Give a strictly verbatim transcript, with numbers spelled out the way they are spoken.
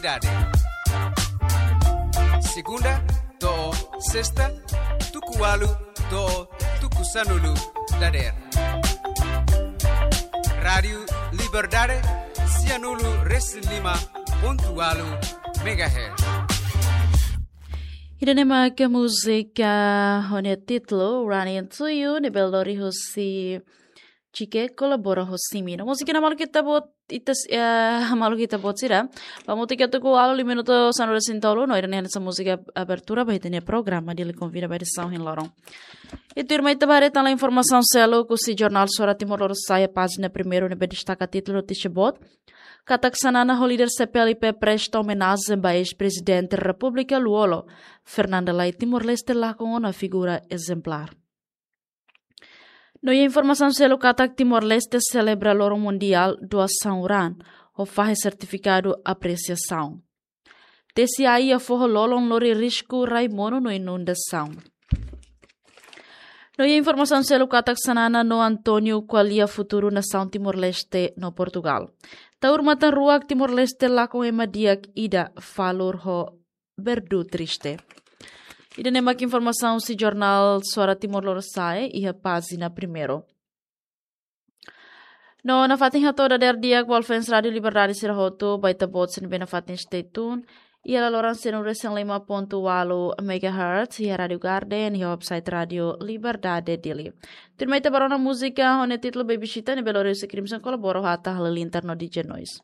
Dade. Segunda to'o sesta, tuku ualu to'o tuku sanulu dadeer. Rádiu Liberdade, sianulu resin lima pontu ualu megahertz. Ida-ne'e mak múzika ho nia títulu Running to You, ne'ebé lori husi Chike kolabora ho Simi. No múzika ne'e maluk ita-boot, ita s-, eh, maluk ita-boot sira. Ba múzika tuku ualu, lima minutu sanulu resin tolu, no ida-ne'e hanesan múzika abertura ba ita-nia programa Dili Konvida ba edisaun ohin loron. I tuirmai ita bá haree tan informasaun seluk husi jornál Suara Timor Lorosa'e pájina primeiru ne'ebé destaka títulu notísia boot katak Xanana ho líder C P L I P presta omenajen ba eis-prezidente Repúblika Lú-Olo, Fernando Lay, Timor-Leste lakon ona figura ezemplár. No iha informasaun seluk katak Timor-Leste selebra loron mundiál doasaun raan, ho fahe sertifikadu apresiasaun. Tesi ai iha foho lolon lori risku rai monu no inundasaun. No iha informasaun seluk katak Xanana no António ko'alia futuru nasaun Timor-Leste no Portugal. Taur matan-ruak Timor-Leste lakon ema di'ak ida, Falur ho Berdu triste. Ida-ne'e mak informasaun husi jornál Suara Timor Lorosa'e iha pájina primeiru. No nafatin hato'o dadeer di'ak ba fans Rádiu Liberdade sira hotu, ba ita-boot sira ne'ebé nafatin stay tune iha laloran sianulu resin lima pontu ualu megahertz, iha Rádiu Garden, iha website Rádiu Liberdade Dili. Tuirmai ita bá rona múzika ho nia títulu Baby Chita ne'ebé lori husi Crimson kolabora ho Atta Halilintar no D J Noise.